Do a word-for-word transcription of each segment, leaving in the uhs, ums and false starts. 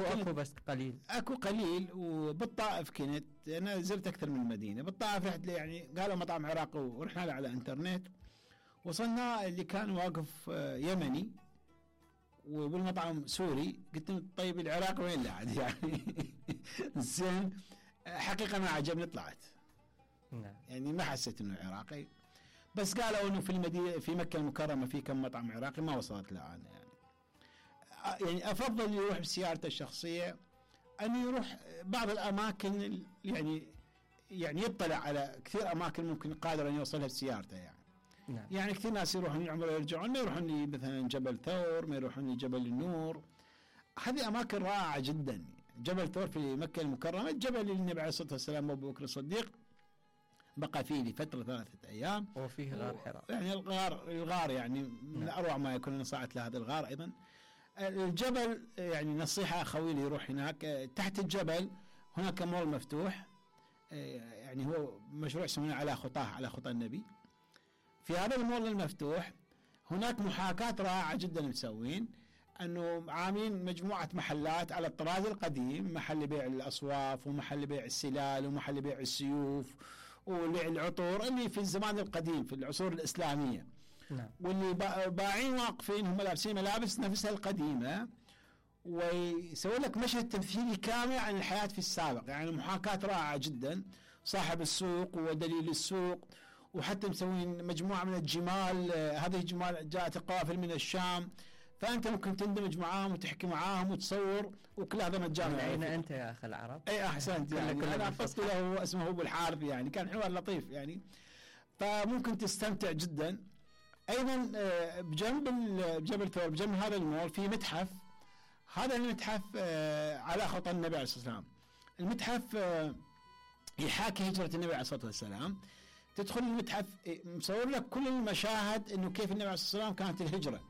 هو اكو بس قليل اكو قليل. وبالطائف كنت انا زرت اكثر من مدينه. بالطائف رحت لي يعني قالوا مطعم عراقي ورحنا له على انترنت. وصلنا اللي كان واقف يمني وبالمطعم سوري. قلت له طيب العراق وين لعد يعني زين. حقيقه ما عجبني طلعت. نعم. يعني ما حسيت انه عراقي. بس قالوا انه في المدينه في مكه المكرمه في كم مطعم عراقي ما وصلت له انا يعني. يعني افضل يروح بسيارته الشخصيه انه يروح بعض الاماكن يعني يعني يطلع على كثير اماكن ممكن قادر ان يوصلها بسيارته يعني. نعم. يعني كثير ناس يروحون العمره يرجعون ما يروحون لي مثلا جبل ثور ما يروحون لجبل النور. هذه اماكن رائعه جدا. جبل ثور في مكه المكرمه الجبل اللي النبي عليه الصلاه والسلام ابو بكر الصديق بقى فيه لفتره ثلاثه ايام. وفيه غار حراء يعني الغار الغار يعني من نعم. اروع ما يكون. انا صعدت لهذا الغار ايضا. الجبل يعني نصيحه اخوي لي يروح هناك. تحت الجبل هناك مول مفتوح يعني هو مشروع اسمه على خطاه على خطى النبي. في هذا المول المفتوح هناك محاكاة رائعة جدا مسوين انه عاملين مجموعة محلات على الطراز القديم. محل بيع الاصواف ومحل بيع السلال ومحل بيع السيوف وبيع العطور اللي في الزمان القديم في العصور الاسلامية. نعم. واللي باعين واقفين هم لابسين ملابس نفسها القديمة ويسوي لك مشهد تمثيلي كامل عن الحياة في السابق. يعني محاكاة رائعة جدا. صاحب السوق ودليل السوق وحتى مسوين مجموعة من الجمال. هذه الجمال جاءت قوافل من الشام فأنت ممكن تندمج معاهم وتحكي معاهم وتصور وكل هذا مجانا. من أين أنت يا أخي العرب؟ أي أحسنت يعني. أنا قلت له اسمه أبو الحارث يعني كان حوار لطيف يعني. فممكن تستمتع جدا. أيضا بجنب جبل ثور بجنب هذا المول في متحف. هذا المتحف على خطى النبي عليه الصلاة والسلام. المتحف يحاكي هجرة النبي عليه الصلاة والسلام. تدخل المتحف مصور لك كل المشاهد انه كيف النبي عليه الصلاه والسلام كانت الهجره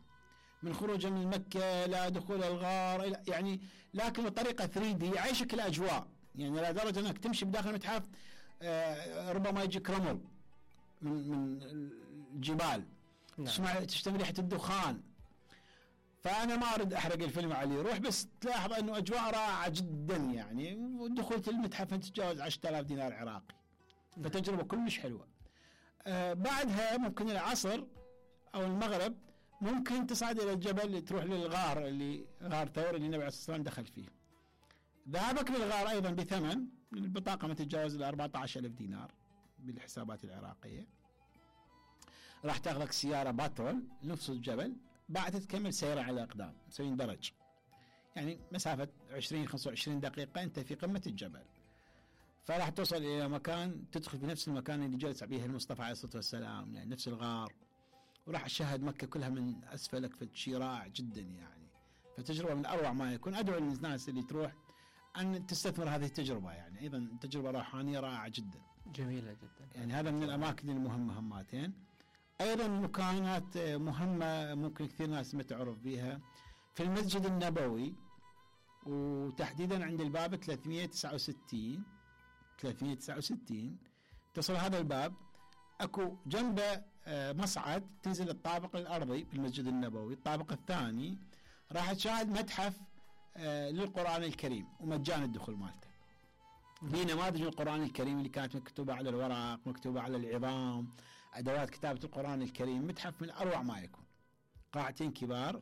من خروجه من مكه الى دخول الغار يعني لكن بطريقه ثري دي يعيشك الاجواء يعني لدرجه انك تمشي بداخل المتحف آه ربما يجيك رمل من من الجبال. نعم. تسمع تشتم ريحه الدخان. فانا ما اريد احرق الفيلم عليه روح بس تلاحظ انه اجواء رائعه جدا يعني. ودخلت المتحف تتجاوز عشرة آلاف دينار عراقي. فتجربة كلش حلوة. آه بعدها ممكن العصر أو المغرب ممكن تصعد إلى الجبل تروح للغار اللي غار ثور اللي النبي عليه الصلاة والسلام دخل فيه. ذهابك للغار أيضا بثمن البطاقة ما تتجاوز ال أربعة عشر ألف دينار بالحسابات العراقية. راح تاخذك سيارة باترول نفس الجبل بعد تكمل سيرة على الأقدام مسوين درج يعني مسافة عشرين خمسة وعشرين دقيقة أنت في قمة الجبل. فراح توصل إلى مكان تدخل في نفس المكان اللي جلس به المصطفى عليه الصلاة والسلام يعني نفس الغار. وراح تشاهد مكة كلها من أسفلك فشي رائع جدا يعني. فتجربة من أروع ما يكون. أدعو للناس اللي تروح أن تستثمر هذه التجربة يعني. أيضا تجربة روحانية رائعة جدا جميلة جدا يعني. هذا من الأماكن المهمة هماتين. أيضا مكانات مهمة ممكن كثير ناس ما تعرف بها في المسجد النبوي وتحديدا عند الباب ثلاثمئة وتسعة وستين ثلاثمئة وتسعة وستين تصل هذا الباب اكو جنبه مصعد تنزل الطابق الارضي بالمسجد النبوي. الطابق الثاني راح تشاهد متحف للقرآن الكريم ومجان الدخول مالته. في نماذج القرآن الكريم اللي كانت مكتوبة على الورق مكتوبة على العظام ادوات كتابة القرآن الكريم. متحف من اروع ما يكون. قاعتين كبار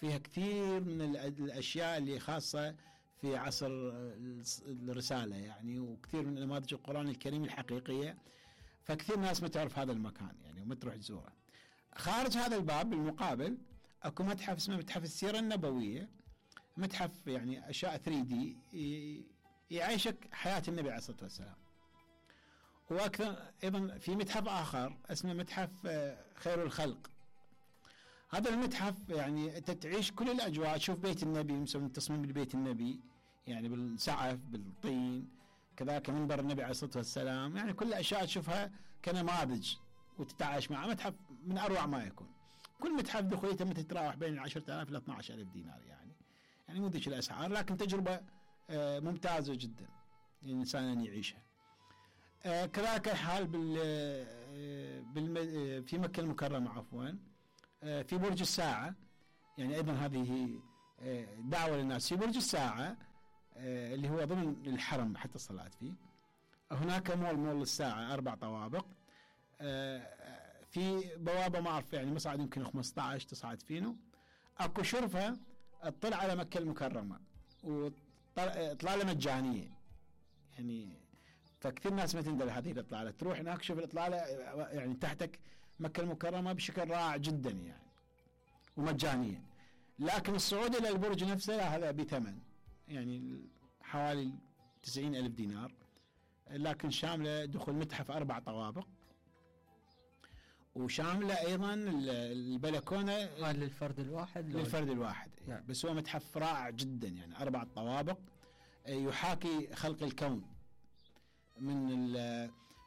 فيها كثير من الاشياء اللي خاصة في عصر الرسالة يعني وكثير من نماذج القرآن الكريم الحقيقية. فكثير ناس ما تعرف هذا المكان يعني وما تروح تزوره. خارج هذا الباب بالمقابل اكو متحف اسمه متحف السيرة النبوية. متحف يعني اشياء ثري دي يعيشك حياة النبي عليه الصلاة والسلام. واكثر ايضا في متحف اخر اسمه متحف خير الخلق. هذا المتحف يعني انت تعيش كل الاجواء. تشوف بيت النبي مسوي تصميم لبيت النبي يعني بالسعف بالطين كذلك منبر النبي عليه الصلاة والسلام يعني كل الاشياء تشوفها كنماذج وتتعايش معه. متحف من اروع ما يكون. كل متحف دخولته تتراوح بين عشرة آلاف الى اثني عشر ألف دينار يعني يعني مو ذيك الاسعار لكن تجربة ممتازة جدا الانسان ان يعيشها. كذلك الحال بال في مكة المكرمة عفوا في برج الساعة يعني أيضا هذه دعوة للناس في برج الساعة اللي هو ضمن الحرم حتى الصلاة فيه. هناك مول مول الساعة أربع طوابق، في بوابة ما أعرف يعني مصعد يمكن خمسة عشر تصعد فينه. أكو شرفة تطلع على مكة المكرمة وإطلالة مجانية يعني، فكثير ناس ما تندل هذه الإطلالة، تروح هناك شوف الإطلالة يعني تحتك مكة المكرمة بشكل رائع جدا يعني ومجانية. لكن الصعود إلى البرج نفسه لا، هذا بثمن يعني حوالي تسعين ألف دينار، لكن شاملة دخول متحف أربع طوابق، وشاملة أيضا البلكونة هذا للفرد الواحد للفرد الواحد نعم. بس هو متحف رائع جدا يعني أربع طوابق يحاكي خلق الكون من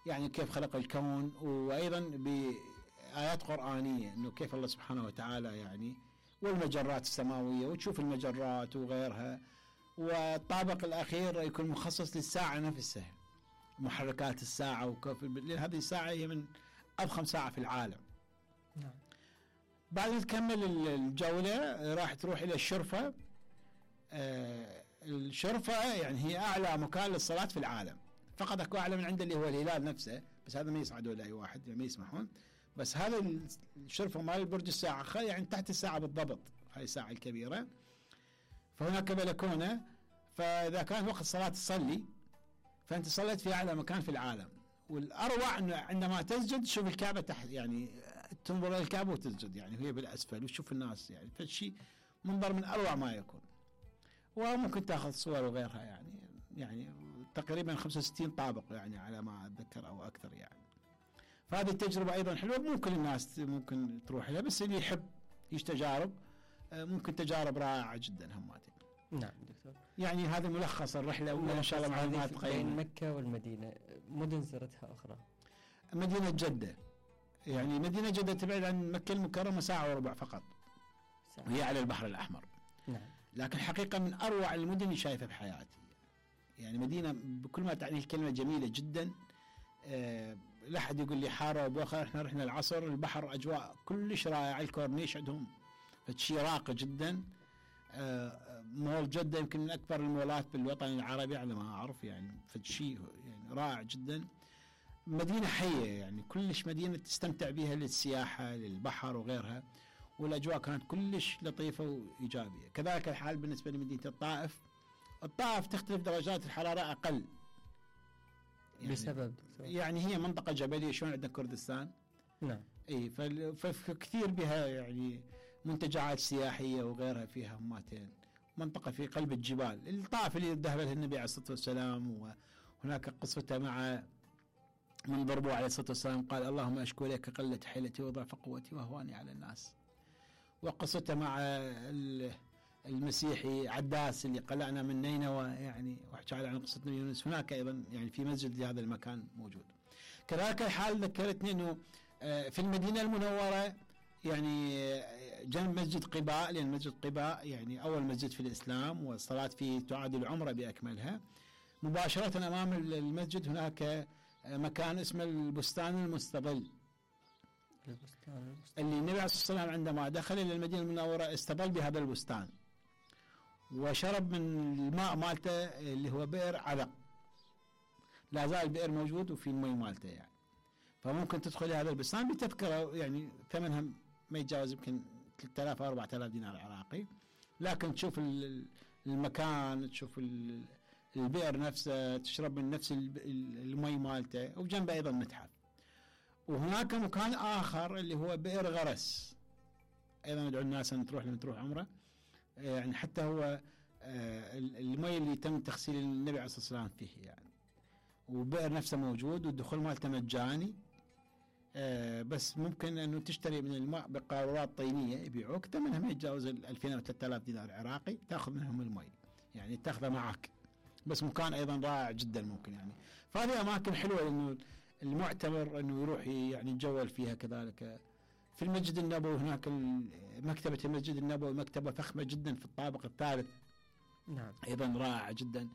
يعني كيف خلق الكون، وأيضا بآيات قرآنية إنه كيف الله سبحانه وتعالى يعني، والمجرات السماوية وتشوف المجرات وغيرها. والطابق الأخير يكون مخصص للساعة نفسها، محركات الساعة وكيف، لأن هذه الساعة هي من أضخم ساعة في العالم. نعم. بعد ما تكمل الجولة راح تروح إلى الشرفة. آه الشرفة يعني هي أعلى مكان للصلاة في العالم، فقط أكو أعلى من عنده اللي هو الهلال نفسه، بس هذا ما يصعدوا لأي واحد يعني ما يسمحون. بس هذا الشرفة مال برج الساعة يعني تحت الساعة بالضبط، هاي الساعة الكبيرة. فهناك بلكونة، فإذا كان وقت صلاة تصلي فأنت صليت في أعلى مكان في العالم. والأروع أنه عندما تسجد تشوف الكعبة تحت، يعني تنظر إلى الكعبة وتسجد يعني هي بالأسفل وتشوف الناس يعني، فالشيء منظر من أروع ما يكون. وممكن تأخذ صور وغيرها يعني يعني تقريبا خمسة وستين طابق يعني على ما أتذكر أو أكثر يعني. فهذه التجربة أيضا حلوة، مو كل الناس ممكن تروح لها، بس اللي يحب يش تجارب ممكن تجارب رائعة جدا هماتين. نعم دكتور، يعني هذا ملخص الرحلة، وإن شاء الله معلومات بين قيمة. مكة والمدينة مدن زرتها أخرى؟ مدينة جدة، يعني مدينة جدة تبعد عن مكة المكرمة ساعة وربع فقط، ساعة. وهي على البحر الأحمر. نعم. لكن حقيقة من أروع المدن اللي شايفها بحياتي، يعني مدينة بكل ما تعني الكلمة جميلة جدا. أه لا أحد يقول لي حارة وبوخة، احنا رحنا العصر البحر أجواء كلش رائعة، الكورنيش عندهم فشي راقي جدا. أه مول جدة يمكن من أكبر المولات بالوطن العربي على ما أعرف يعني، فشي يعني رائع جدا. مدينة حية يعني كلش مدينة تستمتع بها للسياحة للبحر وغيرها، والأجواء كانت كلش لطيفة وإيجابية. كذلك الحال بالنسبة لمدينة الطائف. الطائف تختلف درجات الحرارة أقل يعني بسبب دكتور. يعني هي منطقة جبلية شلون عندنا كردستان. نعم. اي فكثير بها يعني منتجعات سياحية وغيرها فيها هماتين. منطقة في قلب الجبال. الطائف اللي ذهب لها النبي عليه الصلاة والسلام، وهناك قصته مع من ضربوه عليه الصلاة والسلام قال اللهم أشكو إليك قلة حيلتي وضعف قوتي وهواني على الناس. وقصته مع المسيحي عداس اللي قلعنا من نينوى يعني، وحكى عن قصة نبي يونس. هناك أيضا يعني في مسجد لهذا المكان موجود. كذلك الحال ذكرتني أنه في المدينة المنورة يعني جنب مسجد قباء، لأن مسجد قباء يعني أول مسجد في الإسلام والصلاة فيه تعادل عمرة بأكملها. مباشرة أمام المسجد هناك مكان اسمه البستان المستظل، البستان اللي النبي عليه الصلاة والسلام عندما دخل إلى المدينة المنورة استظل بهذا البستان وشرب من الماء مالته اللي هو بئر عذق، لا زال البئر موجود وفي المي مالته يعني. فممكن تدخل هذا البستان بتذكرة يعني ثمنها ما يتجاوز يمكن ثلاثة آلاف أو أربعة آلاف دينار عراقي، لكن تشوف المكان، تشوف البئر نفسه، تشرب من نفس المي مالته، وبجنبه أيضا متحف. وهناك مكان آخر اللي هو بئر غرس، أيضا ندعو الناس أن تروح لما تروح عمره يعني، حتى هو المي اللي تم تغسيل النبي عليه الصلاة والسلام فيه يعني. وبئر نفسه موجود والدخول مالته مجاني، بس ممكن أنه تشتري من الماء بقارورات طينية يبيعوك، ثمنها ما يتجاوز ألفين أو ثلاثة آلاف دينار عراقي، تأخذ منهم المي يعني تأخذه معك. بس مكان أيضا رائع جدا ممكن يعني. فهذه أماكن حلوة لأنه المعتبر أنه يروح يعني يتجول فيها. كذلك في المسجد النبوي هناك مكتبة المسجد النبوي مكتبة فخمة جدا في الطابق الثالث نعم. ايضا رائعه جدا.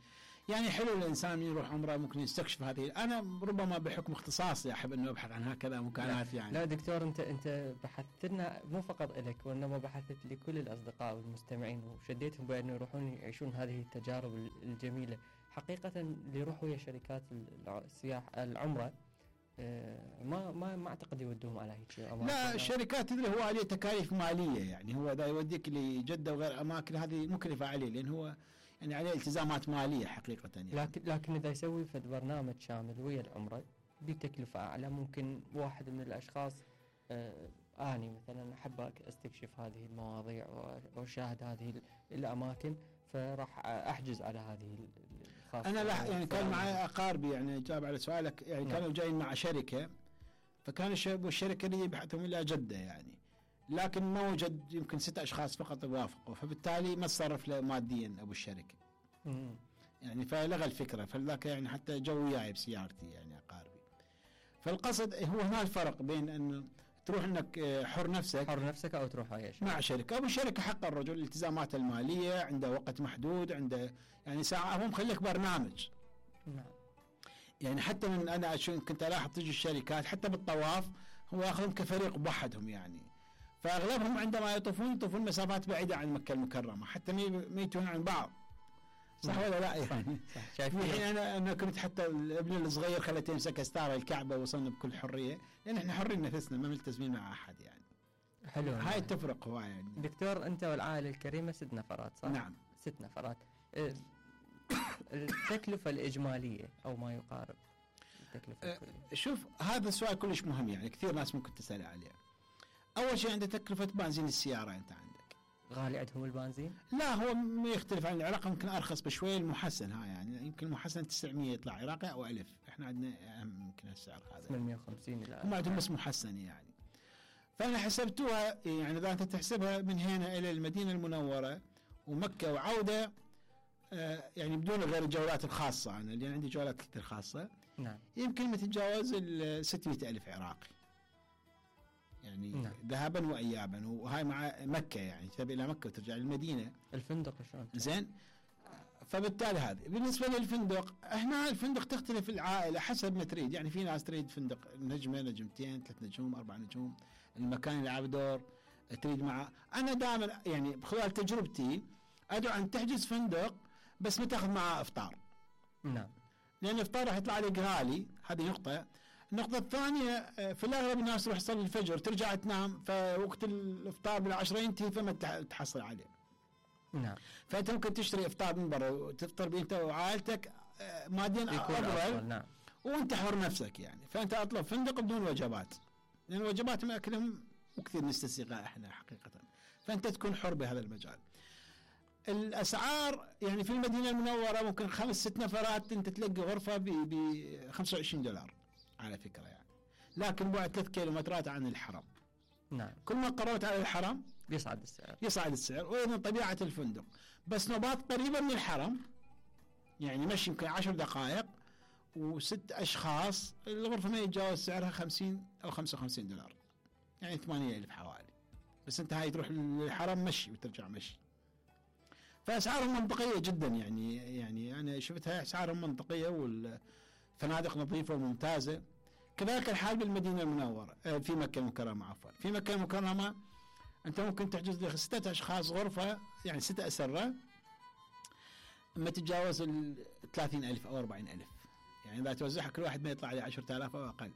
يعني حلو الانسان يروح عمره ممكن يستكشف هذه. انا ربما بحكم اختصاصي احب انه ابحث عن هكذا مكانات يعني. لا دكتور، انت انت بحثت لنا مو فقط لك وانما بحثت لكل الاصدقاء والمستمعين وشديتهم بانه يروحون يعيشون هذه التجارب الجميله. حقيقه اللي يروحوا ويا شركات السياحه العمره ما ما ما اعتقد يودوهم على هيك اماكن. لا الشركات تدري هو عليه تكاليف ماليه، يعني هو اذا يوديك لجده وغير اماكن هذه مكلفه عليه، لان هو يعني عليه التزامات ماليه حقيقه يعني. لكن لكن اذا يسوي فد برنامج شامل ويا العمره بتكلفه اعلى، ممكن واحد من الاشخاص آه اني مثلا احب استكشف هذه المواضيع واشاهد هذه الاماكن، فراح احجز على هذه الخاصه. انا لا يعني كان معي اقاربي يعني جاب على سؤالك يعني نعم. كانوا جايين مع شركه، فكان الشركه اللي يبحثهم الى جده يعني، لكن ما وجد يمكن ست اشخاص فقط يوافقوا، فبالتالي ما تصرف له ماديا ابو الشركه. مم. يعني فلغى الفكره، فلذاك يعني حتى جو وياي بسيارتي يعني اقاربي. فالقصد هو هنا الفرق بين انه تروح انك حر نفسك حر نفسك او تروح اي شيء مع شركه. ابو الشركه حق الرجل الالتزامات الماليه، عنده وقت محدود، عنده يعني ساعه، هو مخليك برنامج. نعم. يعني حتى من انا كنت الاحظ تجي الشركات حتى بالطواف هو ياخذهم كفريق بوحدهم يعني، فاغلبهم عندما يطوفون يطوفون مسافات بعيده عن مكه المكرمه حتى ما يتون عن بعض. صح ولا لا يعني؟ صح. شايف الحين انا انا كنت حتى الابن الصغير خليته يمسك استاره الكعبه وصلنا بكل حريه، لان احنا حرين نفسنا ما ملتزمين مع احد يعني. حلو. هاي تفرق هواي يعني. دكتور انت والعائله الكريمه ست نفرات صح؟ نعم ست نفرات. اه التكلفه الاجماليه او ما يقارب التكلفه أه الكليه. شوف هذا السؤال كلش مهم يعني، كثير ناس ممكن تسال عليه. اول شيء عند تكلفه بنزين السياره انت عندك. غالي عندهم البنزين؟ لا هو ما يختلف عن العراق، يمكن ارخص بشويه المحسن ها يعني، يمكن المحسن تسعمية يطلع عراقي او ألف، احنا عندنا يمكن السعر هذا ثمانمية وخمسين الى هم عندهم بس محسن يعني. فانا حسبتوها يعني اذا انت تحسبها من هنا الى المدينه المنوره ومكه وعوده آه يعني بدون غير الجولات الخاصه، انا اللي عندي جولات كثير خاصه. نعم. يمكن ما تتجاوز ال ستمية ألف عراقي يعني. نعم. ذهابا وايابا، وهاي مع مكه يعني تذهب الى مكه وترجع للمدينه. الفندق شلون؟ زين. فبالتالي هذه بالنسبه للفندق، هنا الفندق تختلف العائله حسب ما تريد يعني. في ناس تريد فندق نجمه نجمتين ثلاث نجوم اربع نجوم، المكان اللي يلعب دور تريد معه. انا دائما يعني خلال تجربتي ادعو ان تحجز فندق بس ما تاخذ معه افطار. نعم. لان الافطار راح يطلع لك غالي، هذه نقطه. النقطة الثانية في الأغلب الناس تروح تصلي الفجر ترجع تنام، فوقت الإفطار بالعشرة ينتهي فما تحصل عليه. نعم. فأنت ممكن تشتري إفطار من برا وتفطر بأنت وعائلتك ماديا أفضل. نعم. وأنت حر نفسك يعني. فأنت أطلب فندق بدون وجبات، لأن الوجبات ما أكلهم وكثير نستسيغها إحنا حقيقة، فأنت تكون حر بهذا المجال. الأسعار يعني في المدينة المنورة ممكن خمس ست نفرات أنت تلقي غرفة ب خمسة وعشرين دولار على فكرة يعني، لكن بعد ثلاث كيلومترات عن الحرم. نعم. كل ما قربت على الحرم يصعد السعر يصعد السعر، وأيضا طبيعة الفندق. بس نوبات قريبة من الحرم يعني مشي يمكن عشر دقائق وست أشخاص، الغرفة ما يتجاوز سعرها خمسين أو خمسة وخمسين دولار يعني ثمانية ألف حوالي. بس أنت هاي تروح للحرم مشي وترجع مشي. فأسعارهم منطقية جدا يعني يعني أنا شفتها أسعارهم منطقية والفنادق نظيفة وممتازة. كذلك الحال بالمدينة المنورة في مكة المكرمة عفوا. في مكة المكرمة أنت ممكن تحجز لك ستة أشخاص غرفة يعني ستة أسرة ما تتجاوز ال ثلاثين ألف أو أربعين ألف يعني، إذا توزعها كل واحد ما يطلع عليه عشرة آلاف أو أقل.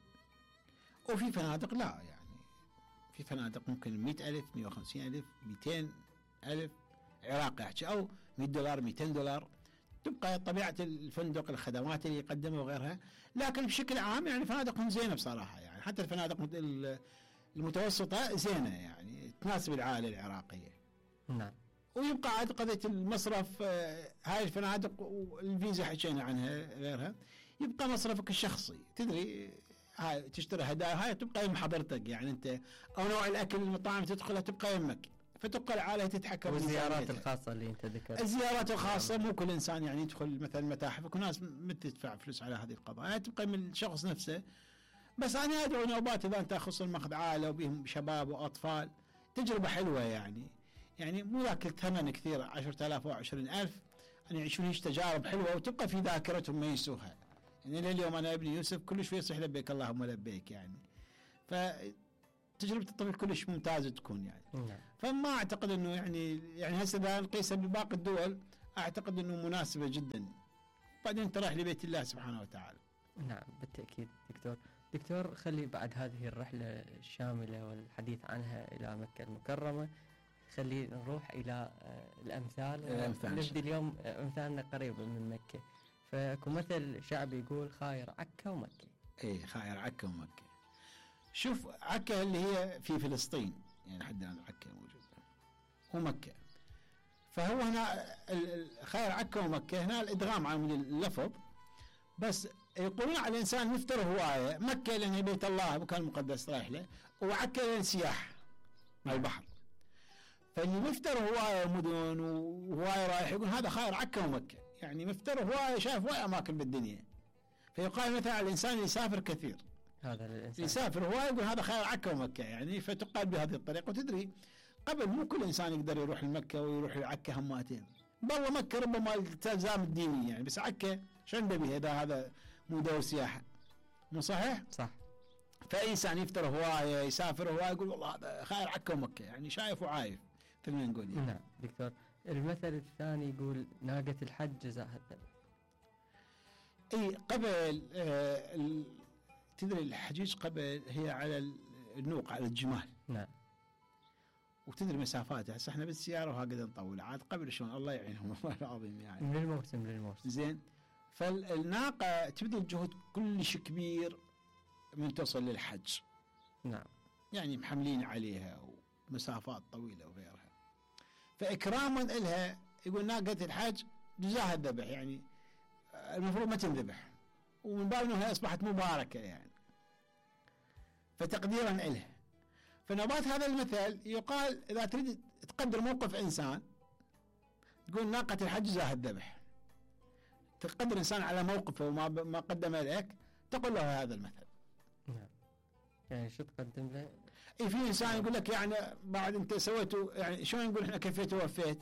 وفي فنادق لا يعني، في فنادق ممكن مئة ألف مئة وخمسين ألف مئتين ألف عراقي أحكي، أو مئة دولار مئتين دولار، تبقى طبيعة الفندق الخدمات اللي يقدمها وغيرها. لكن بشكل عام يعني فنادقهم زينة بصراحة يعني، حتى الفنادق المتوسطة زينة يعني تناسب العائلة العراقية. نعم. ويبقى عاد قضية المصرف هاي الفنادق والفيزا حكينا عنها غيرها، يبقى مصرفك الشخصي. تدري هاي تشتري هدايا هاي تبقى يم حضرتك يعني انت، او نوع الاكل المطاعم تدخلها تبقى يمك، فتبقى العائلة تتحكم. والزيارات الخاصة اللي انت ذكرت، الزيارات الخاصة مو كل انسان يعني يدخل مثلا متاحف، وكل ناس متدفع فلوس على هذه القضايا يعني تبقى من الشخص نفسه. بس انا ادعو نوبات اذا انت اخص الماخذ عائلة وبهم شباب واطفال تجربة حلوة يعني، يعني مو ذاك الثمن كثير عشرة آلاف أو عشرين ألف، أن يعيشون هيك تجارب حلوة وتبقى في ذاكرتهم ما ينسوها. يعني لليوم أنا ابني يوسف كل شوي يصيح لبيك اللهم لبيك يعني. فتجربة الطفل كلش ممتازة تكون يعني. نعم. فما أعتقد أنه يعني يعني هسه إذا نقيسها بباقي الدول أعتقد أنه مناسبة جدا. بعدين أنت رايح لبيت الله سبحانه وتعالى. نعم بالتأكيد دكتور. دكتور خلي بعد هذه الرحلة الشاملة والحديث عنها إلى مكة المكرمة خلي نروح إلى الأمثال. الأمثال نبدي اليوم أمثالنا قريبة من مكة. فاكو مثل شعبي يقول خاير عكا ومكة. إيه خاير عكا ومكة. شوف عكا اللي هي في فلسطين يعني حد الآن عكا موجودة ومكة. فهو هنا خاير عكا ومكة هنا الإدغام عن اللفظ بس يقولون على الإنسان يفتر هواية. مكة لأن بيت الله مكان مقدس رايح له وعكا لأن سياح مع البحر. فاللي مفتر هواية مدن وهواية رايح يقول هذا خاير عكا ومكة يعني مفتر هواية شايف هواية أماكن بالدنيا. فيقال مثلا على الإنسان اللي يسافر كثير هذا الإنسان يسافر هواية يقول هذا خاير عكا ومكة يعني. فتقال بهذه الطريقة. وتدري قبل مو كل إنسان يقدر يروح لمكة ويروح لعكا هماتين. بالله مكة ربما التزام الديني يعني بس عكا شنو بها إذا هذا مو دور سياحة مو صحيح؟ صح. فأي إنسان يفتر هواية يسافر هواية يقول والله هذا خاير عكا ومكة يعني شايف وعايف خلينا نقول يعني. نعم دكتور. المثل الثاني يقول ناقة الحج جزاها الذبح. اي قبل آه تدري الحجيج قبل هي على النوق على الجمال. نعم. وتدري مسافاتها هسه احنا بالسياره وهكذا نطول عاد قبل شلون الله يعينهم والله العظيم يعني. من الموسم للموسم. زين. فالناقه تبذل جهد كلش كبير من توصل للحج. نعم. يعني محملين عليها ومسافات طويله وغيرها. فاكراما لها يقول ناقه الحج جزاها الذبح يعني المفروض ما تنذبح ومن باب انها اصبحت مباركه يعني. فتقديرا لها. فنبات هذا المثل يقال اذا تريد تقدر موقف انسان تقول ناقه الحج جزاها الذبح. تقدر انسان على موقفه وما ما قدم لك تقول له هذا المثل. نعم. يعني شو تقدم له؟ اي في انسان يقول لك يعني بعد انت سويته يعني شلون نقول احنا كفيت ووفيت.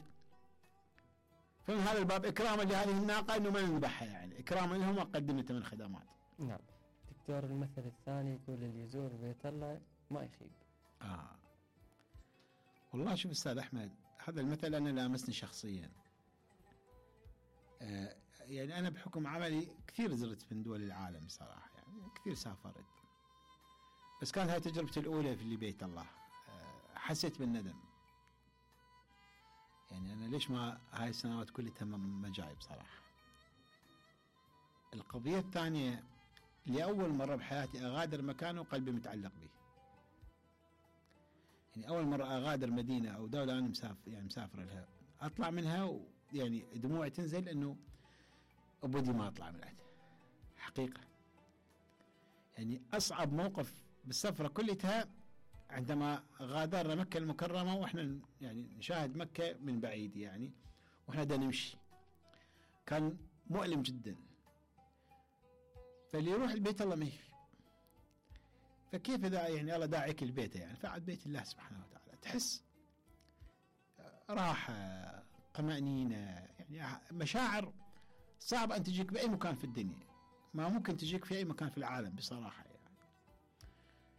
فمن هذا الباب اكراما لهذه الناقه انه ما نذبحها يعني اكراما لهم وقدمته من خدمات. نعم. دكتور المثل الثاني يقول اللي يزور بيت الله ما يخيب. اه والله شوف استاذ احمد هذا المثل انا لامسني شخصيا. آه يعني انا بحكم عملي كثير زرت من دول العالم صراحه يعني كثير سافرت. بس كانت هاي تجربتي الاولى في اللي بيت الله. آه حسيت بالندم. يعني أنا ليش ما هاي السنوات كلها ما جاي بصراحة. القضية الثانية لأول مرة بحياتي أغادر مكان وقلبي متعلق به. يعني أول مرة أغادر مدينة أو دولة أنا مسافر يعني مسافر لها أطلع منها ويعني دموعي تنزل إنه أبودي ما أطلع منها حقيقة. يعني أصعب موقف بالسفرة كلها عندما غادرنا مكة المكرمة وإحنا يعني نشاهد مكة من بعيد يعني وإحنا دا نمشي كان مؤلم جدا. فاللي يروح البيت الله ما يفي. فكيف إذا يعني الله داعيك البيت يعني فعد بيت الله سبحانه وتعالى تحس راحة طمأنينة يعني مشاعر صعب أن تجيك بأي مكان في الدنيا ما ممكن تجيك في أي مكان في العالم بصراحة.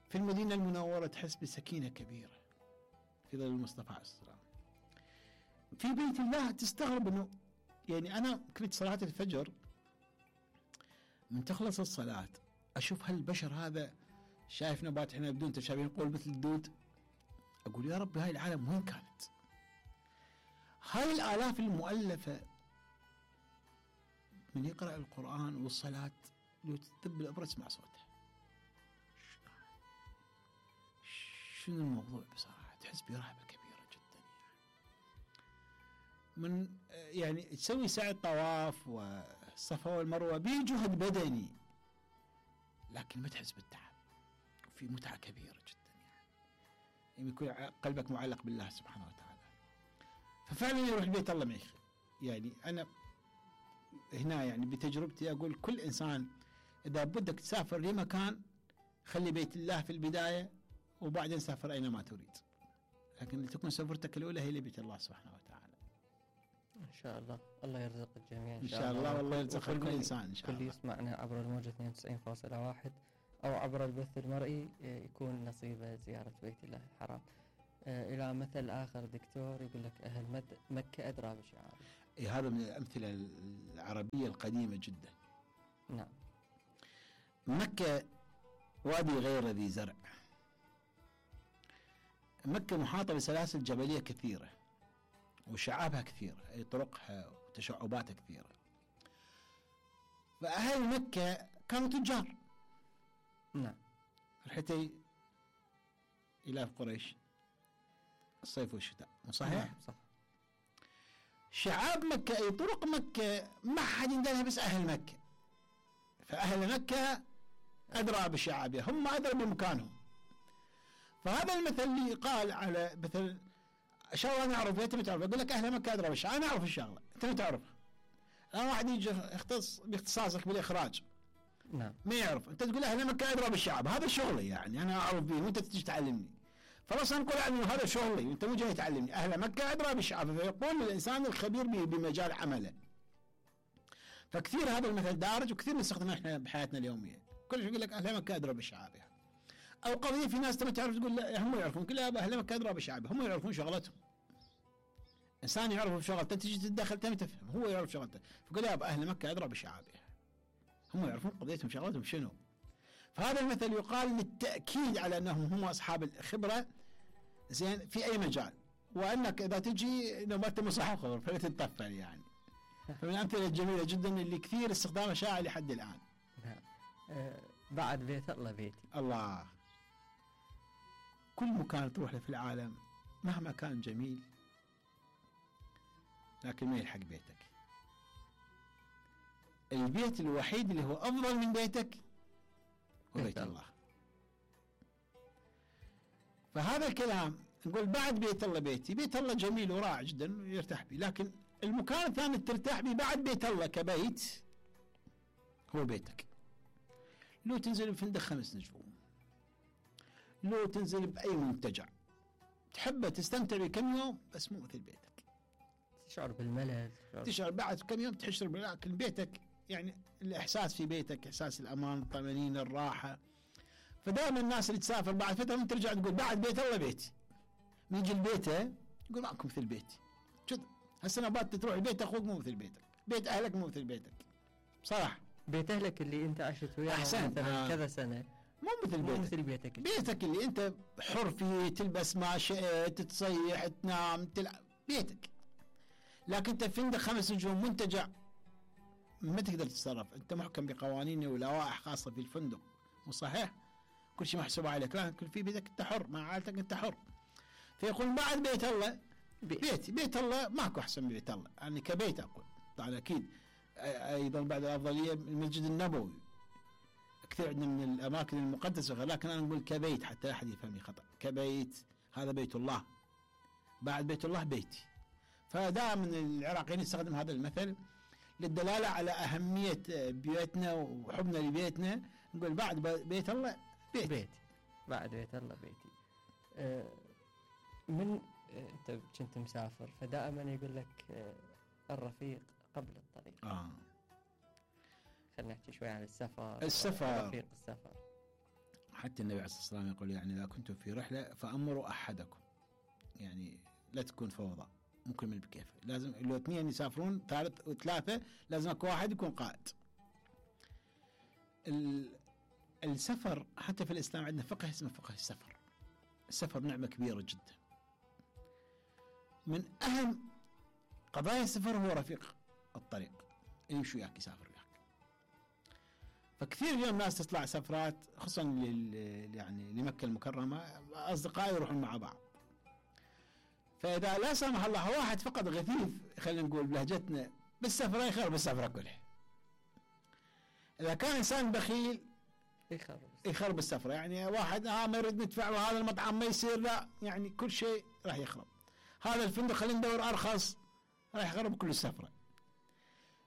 في المدينة المنورة تحس بسكينة كبيرة في ظل المصطفى عليه السلام. في بيت الله تستغرب انه يعني انا كنت صلاة الفجر من تخلص الصلاة اشوف هالبشر هذا شايف نبات هنا بدون تشابه نقول مثل الدود. اقول يا رب هاي العالم وين كانت؟ هاي الالاف المؤلفة من يقرأ القرآن والصلاة لو تذب الابرة تسمع صوته. شنو الموضوع بصراحة تحس برهبة كبيرة جدا يعني. من يعني تسوي سعي الطواف والصفا والمروة بجهد بدني لكن ما تحس بالتعب وفي متعة كبيرة جدا يعني. يعني يكون قلبك معلق بالله سبحانه وتعالى. ففعلا يروح بيت الله ما يخيب. يعني أنا هنا يعني بتجربتي أقول كل إنسان إذا بدك تسافر لمكان خلي بيت الله في البداية وبعدين سافر أينما تريد. لكن لتكون سفرتك الأولى هي لبيت الله سبحانه وتعالى. ان شاء الله الله يرزق الجميع ان شاء الله، والله يرزق كل انسان ان شاء كل الله. يسمعنا عبر الموجة اثنين وتسعين فاصلة واحد او عبر البث المرئي يكون نصيبه زيارة بيت الله الحرام. الى مثل اخر دكتور يقول لك اهل مد- مكة ادرى بشعائر. إيه هذا من الامثله العربيه القديمه جدا. نعم. مكه وادي غير ذي زرع. مكه محاطه بسلاسل جبليه كثيره وشعابها كثيره، اي طرقها وتشعباتها كثيره. فاهل مكه كانوا تجار. نعم. رحتي الى قريش الصيف والشتاء، مو صحيح؟ نعم صح. شعاب مكة أي طرق مكة ما حد يندلها بس أهل مكة. فأهل مكة أدرى بشعابها، هم أدرى بمكانهم. فهذا المثل اللي قال على مثل شغلة أنا أعرف أنت ما تعرف، أقول لك أهل مكة أدرى بشعاب، أنا أعرف الشغلة أنت ما تعرفها. الآن واحد يجي يختص باختصاصك بالإخراج نعم. ما يعرف، أنت تقول أهل مكة أدرى بالشعب، هذا شغلي يعني أنا أعرف به وأنت تجي تعلمني. خلاص أنا أقول عنه هذا شغلي وأنت مو جاي تعلمني. أهل مكة أدرى بالشعب، فيقول الإنسان الخبير بمجال عمله. فكثير هذا المثل دارج وكثير نستخدمه إحنا بحياتنا اليومية. كل شيء يقول لك أهل مكة أدرى بالشعب يعني. أو قضية في ناس ما تعرف تقول لا هم يعرفون، كل أهل مكة أدرى بالشعب، هم يعرفون شغلتهم. إنسان يعرف شغلته تجي تتدخل تم تفهم، هو يعرف شغلته. فقول يا أهل مكة أدرى بشعابها، هم يعرفون قضيتهم شغلتهم شنو. فهذا المثل يقال للتأكيد على أنهم هم أصحاب الخبرة زين في أي مجال، وأنك إذا تجي لو ما أنت مصحح خبر فلا تتطفل يعني. فمن الأمثلة الجميلة جدا اللي كثير استخدامها شائع لحد الآن. نعم. آه بعد بيت الله بيتي. الله. كل مكان تروح له في العالم مهما كان جميل لكن ما يلحق بيتك. البيت الوحيد اللي هو أفضل من بيتك هو بيت الله. فهذا الكلام نقول بعد بيت الله بيتي، بيت الله جميل ورائع جدا ويرتاح به، لكن المكان الثاني ترتاح به بعد بيت الله كبيت هو بيتك. لو تنزل بفندق خمس نجوم، لو تنزل بأي منتجع تحبه تستمتع بكم يوم، بس مو مثل بيتك. تشعر بالملل، تشعر بعد كم يوم تحشر، لكن بيتك يعني الإحساس في بيتك إحساس الأمان، الطمأنينة، الراحة. فدائما الناس اللي تسافر بعد فترة من ترجع تقول بعد بيت الله بيتي. من يجي البيت يقول معكم مثل بيتي. شوف هالسنة بات تروح بيت أخوك مو مثل بيتك، بيت أهلك مو مثل بيتك. صراحة بيت أهلك اللي أنت عشت وياه أحسن مثلا آه. كذا سنة مو مثل مو بيتك. مثل بيتك. بيتك اللي أنت حر فيه، تلبس ما شئت، تصيح، تنام، تلعب، بيتك. لكن أنت فندق خمس نجوم منتجع ما تقدر تتصرف، أنت محكم بقوانين ولوائح خاصة في الفندق، مو صحيح؟ كل شيء محسوب عليك، لكن في بيتك أنت حر، مع عائلتك أنت حر. فيقول بعد بيت الله بيت. بيت بيت الله ماكو أحسن من بيت الله، يعني كبيت أقول طبعا أكيد. أيضا بعد الأفضلية المسجد النبوي، كثير عندنا من الأماكن المقدسة، لكن أنا أقول كبيت حتى لا أحد يفهمني خطأ. كبيت هذا بيت الله، بعد بيت الله بيتي. فدائما العراقيين يستخدم هذا المثل للدلالة على أهمية بيوتنا وحبنا لبيتنا. نقول بعد بيت الله بيت. بيتي، بعد بيت الله بيتي. آه من آه أنت كنت مسافر فدائما يقول لك آه الرفيق قبل الطريق. آه. خلينا نحكي شوي عن السفر. السفر. رفيق السفر. حتى النبي عليه الصلاة والسلام يقول يعني إذا كنتم في رحلة فأمروا أحدكم، يعني لا تكون فوضى، ممكن من بكيفه. لازم لو اثنين يسافرون ثالث وثلاثة لازم اكو واحد يكون قائد. السفر حتى في الإسلام عندنا فقه اسمه فقه السفر. السفر نعمة كبيرة جدا. من أهم قضايا السفر هو رفيق الطريق اللي يمشي وياك يسافر وياك. فكثير اليوم ناس تطلع سفرات خصوصا لل يعني لمكة المكرمة، أصدقائي يروحون مع بعض. فإذا لا سمح الله واحد فقط غثيث، خلينا نقول بلهجتنا، بالسفرة يخرب السفرة كلها. إذا كان إنسان بخيل يخرب يخرب السفرة، يعني واحد آه ما يريد ندفع وهذا المطعم ما يصير، لا يعني كل شيء راح يخرب. هذا الفندق خلينا ندور أرخص، راح يخرب كل السفرة.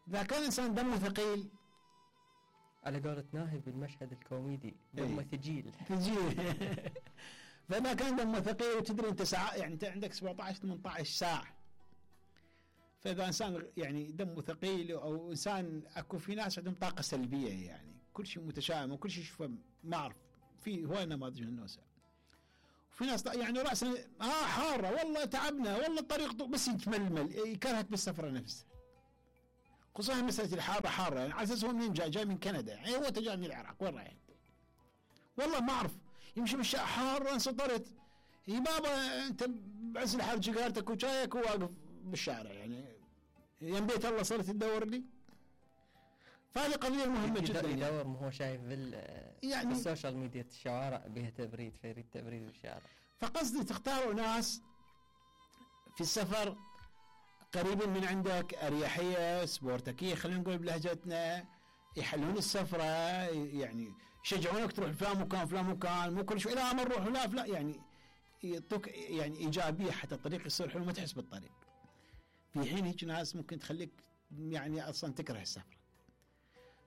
إذا كان إنسان دمه ثقيل، على قولة ناهي بالمشهد الكوميدي دمه ثقيل ثقيل. فما كان دمه ثقيل وتدري أنت ساعة، يعني أنت عندك سبعة عشر ثمانية عشر ساعة، فاذا انسان يعني دمه ثقيل او انسان اكو في ناس عندهم طاقه سلبيه يعني كل شيء متشائم وكل شيء يشوفه ما اعرف في هواي نماذج من النوسه. وفي ناس يعني راسا ها حاره والله تعبنا والله الطريق بس يتململ يكرهك بالسفره نفسها. خصوصا مساله الحاره حاره يعني على اساس هو منين جاي؟ جاي من كندا يعني هو جاي من العراق وين رايح؟ والله ما اعرف يمشي بالشارع حاره انسطرت يا بابا انت بعز الحر سيجارتك وشايك وواقف بالشارع يعني يم بيت الله صرت تدور لي. فهذه قضيه مهمه جدا يدور يعني. ما هو شايف بال يعني بالسوشيال ميديا الشوارع بها تبريد فيريد تبريد بالشارع. فقصدي تختاروا ناس في السفر قريبين من عندك اريحيه سبورتكيه خلينا نقول بلهجتنا يحلون السفره يعني يشجعونك تروح فلان مكان فلان مكان مو كل شوي لا ما نروح لا لا يعني يعطوك يعني ايجابيه حتى الطريق يصير حلو ما تحس بالطريق. في حين هيك ناس ممكن تخليك يعني اصلا تكره السفر.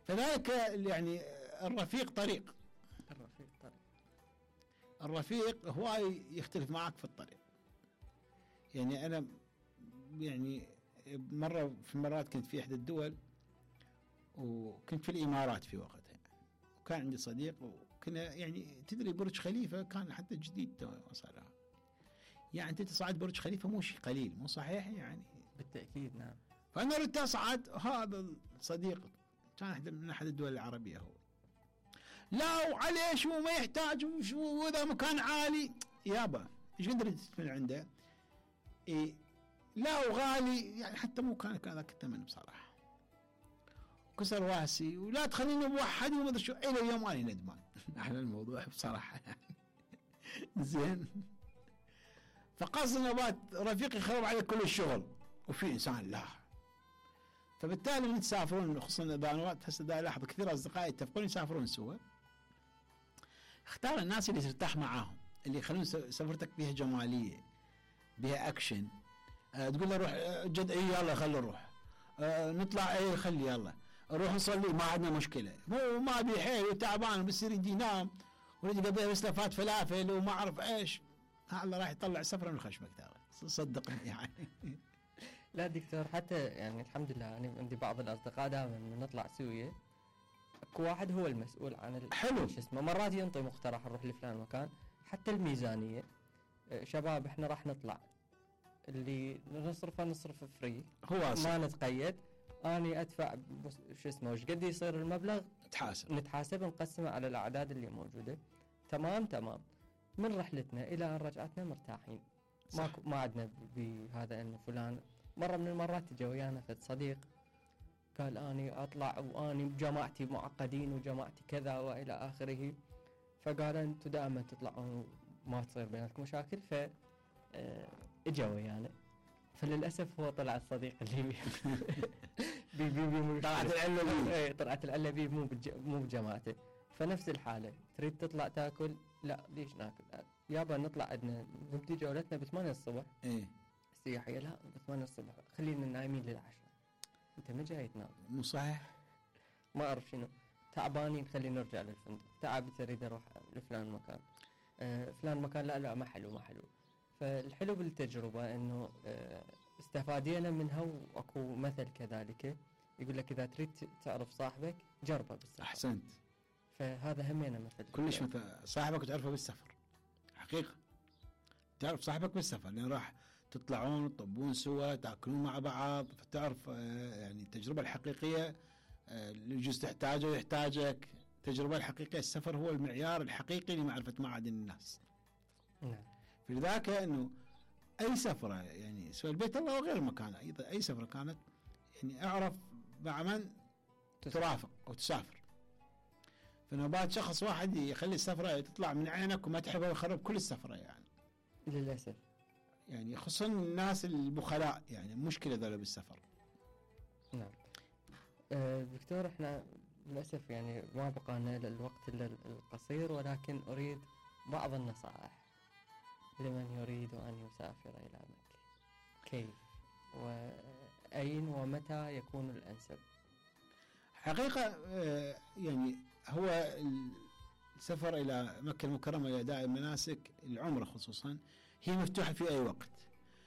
فذلك يعني الرفيق طريق الرفيق طريق الرفيق هواي يختلف معك في الطريق. يعني انا يعني مره في المرات كنت في احدى الدول وكنت في الامارات في وقتها وكان عندي صديق وكنا يعني تدري برج خليفه كان حتى جديد تو صار يعني انت تصعد برج خليفه مو شيء قليل مو صحيح يعني بالتاكيد نعم. فانا ردت اصعد هذا الصديق كان احد من احد الدول العربيه هو لا وعليه شو ما يحتاج وشو وذا مكان عالي يابا ايش قدرت من عنده إيه لا وغالي يعني حتى مو كان هذاك الثمن بصراحه كسر راسي ولا تخليني بوحدي وما ادري شو الى اليوم انا ندمان على الموضوع بصراحه يعني زين. فقصد نبات رفيق يخرب عليك كل الشغل وفي انسان لا. فبالتالي من تسافرون خصوصا اذا انا هسه دا الاحظ كثير اصدقائي يتفقون يسافرون سوا اختار الناس اللي ترتاح معاهم اللي يخلون سفرتك بها جماليه بها اكشن. أه تقول له روح جد اي يلا خلي نروح أه نطلع اي خلي يلا نروح نصلي ما عندنا مشكله مو ما ابي حيل وتعبان بس يريد ينام ويريد يقضيها بس لفات فلافل وما اعرف ايش الله راح يطلع سفره من خشمك ترى صدقني يعني. لا دكتور حتى يعني الحمد لله أنا عندي بعض الأصدقاء دائما من نطلع سوية اكو واحد هو المسؤول عن حلو شو اسمه مرات ينطي مقترح نروح لفلان مكان حتى الميزانية شباب احنا راح نطلع اللي نصرفه نصرف فري هو ما نتقيد اني ادفع شو اسمه وش قد يصير المبلغ نتحاسب نتحاسب نقسمه على الاعداد اللي موجودة تمام تمام من رحلتنا الى ان رجعتنا مرتاحين ما ما عندنا بهذا انه فلان. مرة من المرات تجي ويانا فد صديق قال اني اطلع واني بجماعتي معقدين وجماعتي كذا والى اخره فقال انتم دائما تطلعون ما تصير بينكم مشاكل ف اجا ويانا فللاسف هو طلع الصديق اللي بي بي بي طلعت العله بي اي طلعت العله بي مو مو بجماعته. فنفس الحاله تريد تطلع تاكل لا ليش ناكل يابا نطلع عندنا نبدي جولتنا بثمانية الصبح ايه السياحيه لا بثمانية الصبح خلينا نايمين للعشاء انت ما جاي تنام مو صحيح ما اعرف شنو تعبانين خلينا نرجع للفندق تعب تريد اروح لفلان مكان آه فلان مكان لا لا ما حلو ما حلو. فالحلو بالتجربة انه آه استفادينا منها واكو مثل كذلك يقول لك اذا تريد تعرف صاحبك جربه بالسفر. احسنت. فهذا همينا مثل كلش مثل صاحبك تعرفه بالسفر حقيقة تعرف صاحبك بالسفر لان راح تطلعون تطبون سوا تاكلون مع بعض فتعرف آه يعني التجربة الحقيقية اللي يجوز تحتاجه ويحتاجك. التجربة الحقيقية السفر هو المعيار الحقيقي لمعرفة معادن الناس. نعم. فلذاك انه اي سفرة يعني سواء البيت الله وغير المكان ايضا اي سفرة كانت يعني اعرف مع من ترافق او تسافر. فنوبات شخص واحد يخلي السفرة تطلع من عينك وما تحبها ويخرب كل السفرة يعني. للأسف. يعني خصوصا الناس البخلاء يعني مشكلة ذولا بالسفر. نعم. أه دكتور احنا للأسف يعني ما بقانا للوقت الا القصير ولكن اريد بعض النصائح لمن يريد أن يسافر إلى مكة كيف وأين ومتى يكون الأنسب؟ حقيقة يعني هو السفر إلى مكة المكرمة لأداء المناسك العمرة خصوصا هي مفتوحة في أي وقت.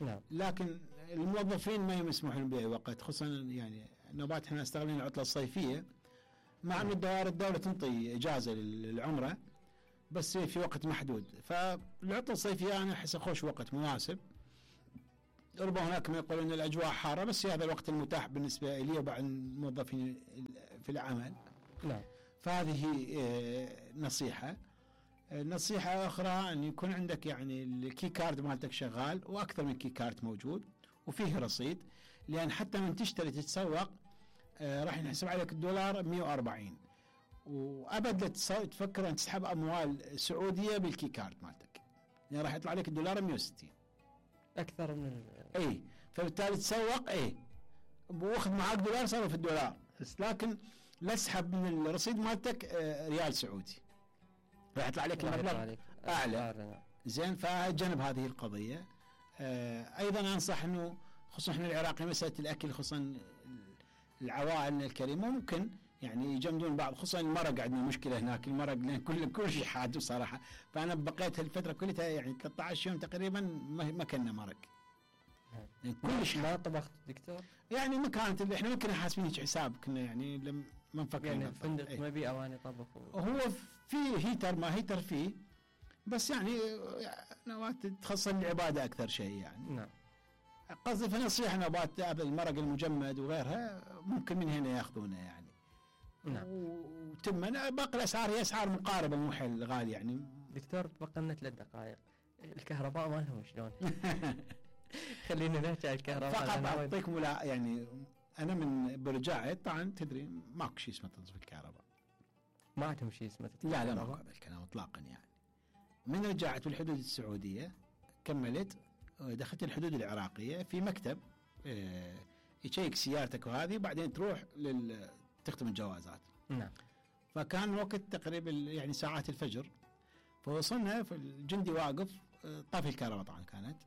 نعم. لكن الموظفين ما يسمحون باي وقت، خصوصا يعني نوبات احنا استغلين العطله الصيفيه، مع ان الدوائر الدوله تنطي اجازه للعمره بس في وقت محدود، فالعطله الصيفيه انا احس خوش وقت مناسب. ربما هناك من يقولون ان الاجواء حاره، بس هذا الوقت المتاح بالنسبه لي وبعض الموظفين في العمل. نعم. فهذه نصيحه. نصيحه اخرى ان يكون عندك يعني الكي كارد مالتك شغال، واكثر من كي كارد موجود وفيه رصيد، لان حتى من تشتري تتسوق راح ينحسب عليك الدولار مئة وأربعين، وابد لا تفكر ان تسحب اموال سعوديه بالكي كارد مالتك، يعني راح يطلع عليك الدولار مئة وستين اكثر من ال... اي، فبالتالي تسوق اي واخذ معاك دولار صار في الدولار، بس لكن لا تسحب من الرصيد مالتك ريال سعودي، راح يطلع عليك المبلغ اعلى. زين، فجنب هذه القضيه. ايضا انصح انه خصوصا احنا العراقي مساله الاكل، خصوصا العوائل الكريمه ممكن يعني يجمدون بعض، خصوصا المرق عندنا مشكله هناك، المرق لان كل كل شيء حاد بصراحه، فانا بقيت هالفتره كلها يعني ثلاثة عشر يوم تقريبا ما كنا مرق. يعني كل شيء ما طبخت دكتور؟ يعني ما كانت اللي احنا ممكن حاسبين هيك حساب، كنا يعني لما ما نفكر يعني الفندق ايه؟ ما بي اواني طبخ و... هو في هيتر، ما هيتر فيه، بس يعني نوات تخصص العباده اكثر شيء يعني. نعم. قصدي في نصيحه نوبات المرق المجمد وغيرها ممكن من هنا ياخذونه يعني. نعم. وتم باقي الاسعار هي اسعار مقاربه، مو حيل غالي يعني. دكتور بقى لنا ثلاث دقائق، الكهرباء مالهم شلون؟ خلينا نحكي عن الكهرباء. فقط اعطيك ملا يعني انا من برجعت طبعا تدري ماكو شيء اسمه تنظيف الكهرباء. ما عندهم شيء اسمه تنظيف الكهرباء؟ لا لا ماكو هذا الكلام اطلاقا يعني. من رجعت بالحدود السعوديه كملت دخلت الحدود العراقيه في مكتب اه يشيك سيارتك وهذه، وبعدين تروح لل تختم الجوازات. نعم. فكان وقت تقريبا يعني ساعات الفجر، فوصلنا في الجندي واقف طافي الكهرباء طبعا كانت،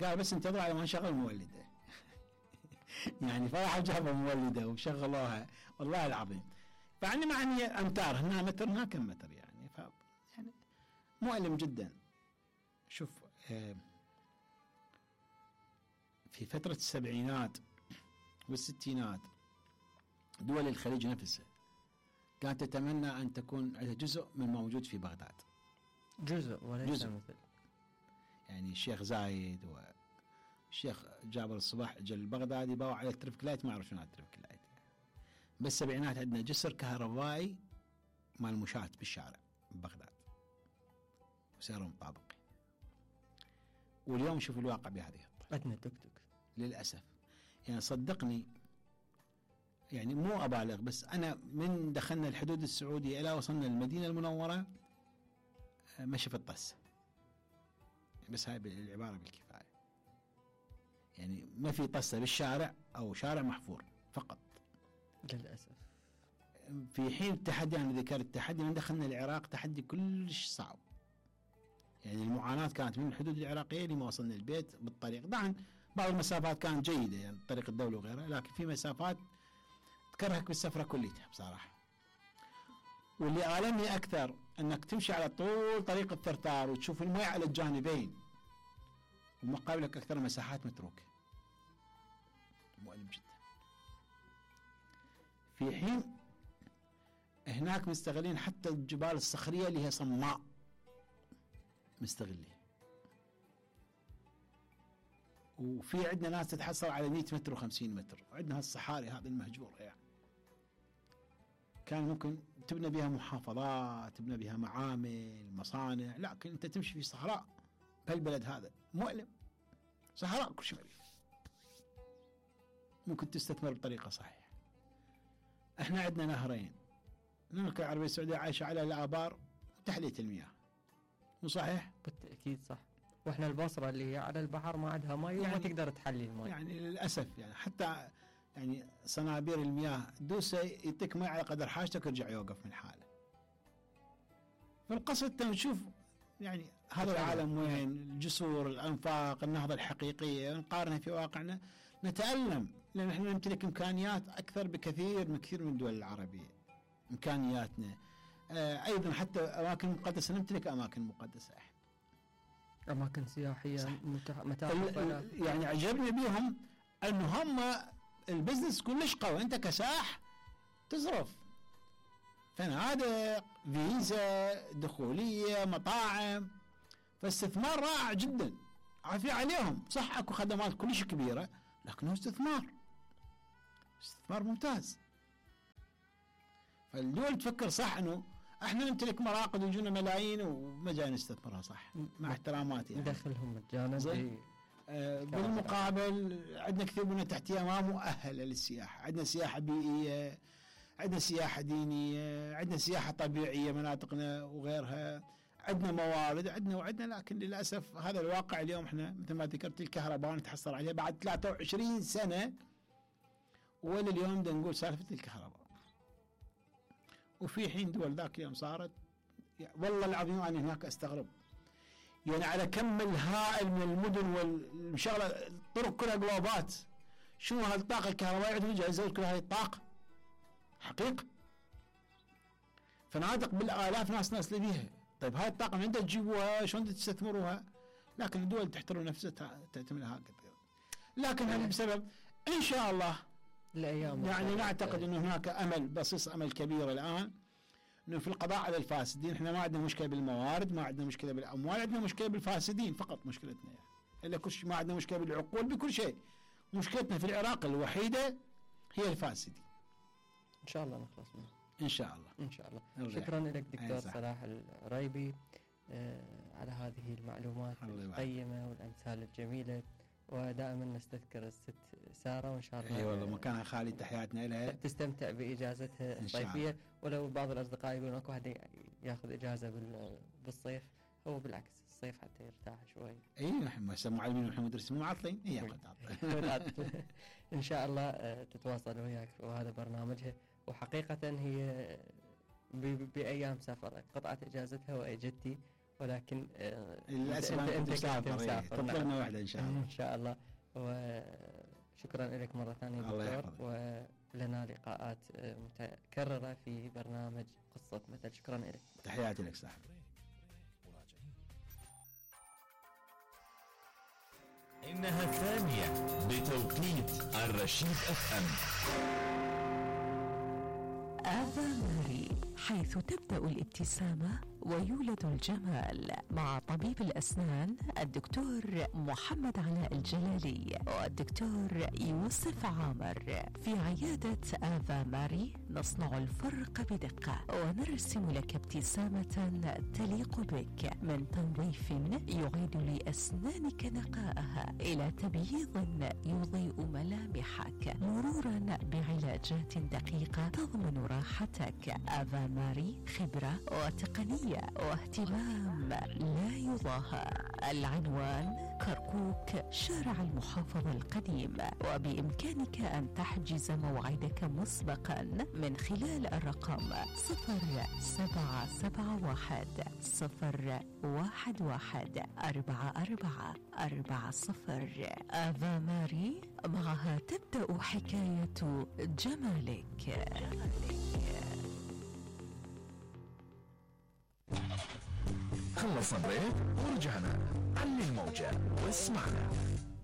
قال بس انتظر على ما نشغل المولده. يعني فرح جابوا مولده وشغلوها والله العظيم، فعني معني امتار هنا متر هنا كم متر يعني، ف يعني مؤلم جدا. شوف اه في فتره السبعينات والستينات دول الخليج نفسها كانت تتمنى أن تكون عندها جزء من ما موجود في بغداد. جزء وليس جزء. مثل يعني الشيخ زايد والشيخ جابر الصباح جل بغداد يباوع على الترفيك لايت، ما أعرف شنو الترفيك لايت يعني. بالسبعينات عندنا جسر كهربائي مال مشاة بالشارع ببغداد وسيارة مطابقة، واليوم شوف الواقع بهذه الطريقة. عندنا توك توك للأسف. يعني صدقني يعني مو أبالغ، بس أنا من دخلنا الحدود السعودية إلى وصلنا المدينة المنورة ما شفت طس، بس هاي العبارة بالكفاية، يعني ما في طسة بالشارع أو شارع محفور فقط للأسف. في حين التحدي، أنا ذكرت التحدي من دخلنا العراق تحدي كلش صعب، يعني المعاناة كانت من الحدود العراقية لما وصلنا البيت بالطريق. طبعا بعض المسافات كانت جيدة يعني طريق الدولة وغيرها، لكن في مسافات تكرهك بالسفرة كلها بصراحة. واللي آلمني أكثر أنك تمشي على طول طريق الثرثار وتشوف الماء على الجانبين ومقابلك أكثر مساحات متروكة، مؤلم جدا. في حين هناك مستغلين حتى الجبال الصخرية اللي هي صماء مستغلين، وفي عندنا ناس تتحصل على مئة متر وخمسين متر، وعندنا هالصحاري هذه المهجورة يعني كان ممكن تبنى بها محافظات، تبنى بها معامل مصانع، لكن انت تمشي في صحراء بهالبلد هذا مؤلم، صحراء كل شيء مريض، ممكن تستثمر بطريقة صحيحة. احنا عندنا نهرين، المملكة العربية السعودية عايشة على الآبار وتحلية المياه، مو صحيح؟ بالتأكيد صح. واحنا البصرة اللي هي على البحر ما عندها ماء يعني وما تقدر تحلي الماء يعني للأسف، يعني حتى يعني صنابير المياه دوسه يعطيك ماء على قدر حاجتك ويرجع يوقف من حاله. فالقصد نشوف يعني هذا العالم وين، الجسور، الأنفاق، النهضة الحقيقية نقارنها في واقعنا نتألم، لأن احنا نمتلك إمكانيات أكثر بكثير من كثير من الدول العربية. إمكانياتنا آه أيضا حتى أماكن مقدسة، نمتلك أماكن مقدسة احنا. اماكن سياحيه متح- متاحف ال- ولا- ال- يعني عجبني بيهم انه هم البزنس كلش قوي. انت كسائح تصرف فنادق، فيزا، دخوليه، مطاعم، فاستثمار رائع جدا عافية عليهم. صح اكو خدمات كلش كبيره لكنه استثمار استثمار ممتاز. فالدول تفكر صح انه احنا نمتلك مراقد ويجونا ملايين وما جاي نستثمرها صح مع احتراماتي يعني. ندخلهم مجانا زين. آه بالمقابل عندنا كثير من التحتيه ما مؤهله للسياحه. عندنا سياحه بيئيه، عندنا سياحه دينيه، عندنا سياحه طبيعيه مناطقنا وغيرها، عندنا موارد، عندنا وعندنا، لكن للاسف هذا الواقع اليوم. احنا مثل ما ذكرت الكهرباء نتحصل عليها بعد ثلاثة وعشرين سنه ولا اليوم بدنا نقول سالفه الكهرباء. وفي حين دول ذاك اليوم صارت، والله العظيم انا هناك استغرب يعني على كم الهائل من المدن والمشغله الطرق كلها جلوبات، شنو هالطاقه الكهربائيه عندهم يجهزون كل هاي الطاقه حقيقه. فنادق بالالاف ناس ناس بيها. طيب هاي الطاقه من عندها تجيبوها؟ شلون تستثمروها؟ لكن الدول تحترم نفسها تعتمد هكذا. لكن هذا بسبب ان شاء الله الايام يعني نعتقد انه هناك امل بصيص امل كبير الان انه في القضاء على الفاسدين. احنا ما عندنا مشكله بالموارد، ما عندنا مشكله بالاموال، عندنا مشكله بالفاسدين فقط مشكلتنا يعني. الا كل شيء ما عندنا مشكله بالعقول بكل شيء. مشكلتنا في العراق الوحيده هي الفاسدين. ان شاء الله نخلص منه ان شاء الله ان شاء الله. نرجع. شكرا لك دكتور صح. صلاح العريبي آه على هذه المعلومات القيمه والامثال الجميله. ودائما نستذكر الست ساره وان شاء الله اي والله مكانها خالي، تحياتنا لها. تستمتع باجازتها الصيفيه. ولو بعض الاصدقاء يقولون اكو واحد ياخذ اجازه بال- بالصيف، هو بالعكس الصيف حتى يرتاح شوي. اي نحن هسه معلمين ونحن مدرسين مو معطلين. هي ان شاء الله آه، تتواصل وياك وهذا برنامجها. وحقيقه هي ب- بايام سفر قطعت اجازتها واجتي، ولكن آه، للاسف أنت- انت أنت كنت مسافر. مسافر. تطلعنا نعم. واحده ان شاء الله. ان شاء الله. وشكرا لك مره ثانيه الله دكتور، يحفظك. ولنا لقاءات آه، متكرره في برنامج قصه مثل. شكرا لك. تحياتي لك صاحبي. إنها الثانية بتوقيت الرشيد اف ام. آفا ماري، حيث تبدأ الابتسامة ويولد الجمال، مع طبيب الأسنان الدكتور محمد علاء الجلالي والدكتور يوسف عامر. في عيادة آفا ماري نصنع الفرق بدقة ونرسم لك ابتسامة تليق بك، من تنظيف يعيد لأسنانك نقاءها إلى تبييض يضيء ملامحك، مرورا بعلاجات دقيقة تضمن راحتك. آفا ماري خبرة وتقنية واهتمام لا يضاهى. العنوان كركوك، شارع المحافظة القديم. وبإمكانك أن تحجز موعدك مسبقا من خلال الرقم صفر سبعة سبعة واحد صفر واحد واحد أربعة أربعة أربعة صفر. آفا ماري، معها تبدأ حكاية جمالك. خلصنا بريك ورجعنا. علي الموجة واسمعنا.